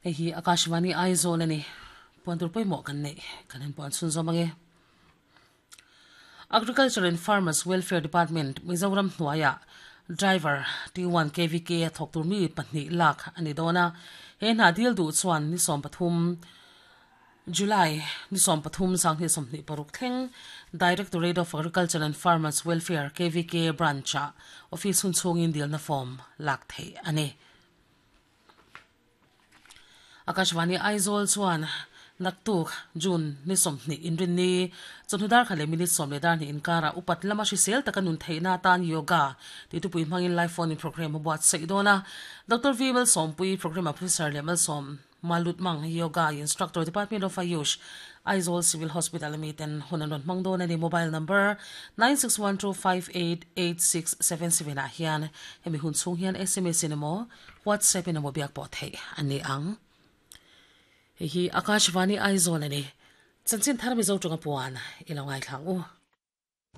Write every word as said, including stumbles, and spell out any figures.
Hei hi Akashvani Aizawl ani. Puan tur pawimawh kan neih kan han puan chhun zawm ange. Agriculture and Farmers Welfare Department Mizoram hnuaiah Driver T one K V K a thawk tur mi pahnih lak a ni dawn a. He hna dil duh chuan ni sawm pathum July ni sawm pathum sanghnih sawmhnih paruk thleng Directorate of Agriculture and Farmers Welfare K V K Branch ah office hun chhungin dilna form lak theih a ni. Akashvani Aizawl chuan naktuk June ni sawmhnih inrinni chawhnu dar kha leh minute sawm leh dar hnih inkarah upat lama hrisel taka nun theihna atan yoga tih tupui hmangin live phone in program a buat saih dawn a. Doctor V Malsawmpui program a professor leh Malsawm Malutmang yoga instructor Department of Ayush Aizawl Civil Hospital ami ten hun an rawn hmang dawn a ni. Mobile number nine six one two five eight eight six seven seven ah hian hemi hun chhung hian S M S in emaw WhatsApp in emaw biak pawh theih a ni ang. Hei hi Akashvani Aizawl a ni. Chanchin thar Mizo tawng a puan i lo ngaithlang u.